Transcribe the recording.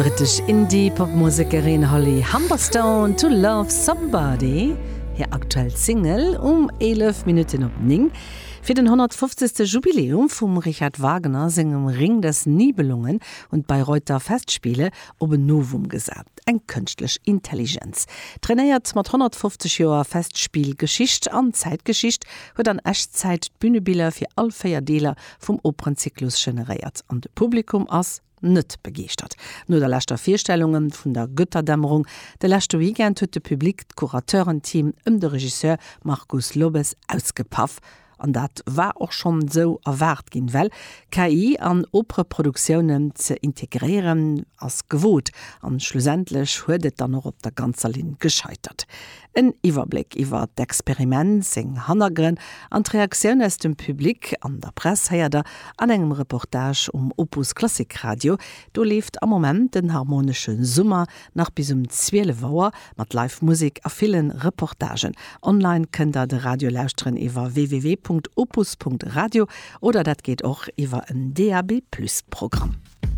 D'brittesch Indie-Pop-Musekerin Holly Humberstone, To Love Somebody, hir aktuell Single, um 11 Minutten op 9. Fir den 150. Jubiläum vum Richard Wagner sengem Ring des Nibelungen hunn d'Bayreuther Festspiele op en Novum gesat, eng kënschtlech Intelligenz. Trainéiert mat 150 Joer Festspillgeschicht an Zäitgeschicht, huet an Echtzäit d'Bünebiller fir all 4 Deeler vum Operenzyklus generéiert an de Publikum ass net begeeschtert. No der leschter Virstellunge vun der Götterdämmerung de leschte Weekend huet de Public d'Curateuren-Team ëm de Regisseur Marcus Lobes ausgepaff. An dat war och schonn esou erwaart ginn, well KI an Opereproduktiounen ze integréieren ass gewot. An schlussendlech huet et dann och op der ganzer Linn gescheitert. En Iwwerbléck iwwer d'Experiment, seng Hannergrënn an d'Reaktioun aus dem Public an der Press héiert der an engem Reportage um Opus Klassik Radio. Do leeft am Moment den Harmonesche Summer nach bis um 12 Auer mat Live Musek a ville Reportagen. Online kënnt der de Radio lauschteren iwwer www.opus.radio oder dat geet och iwwer en DAB-Plus Programm.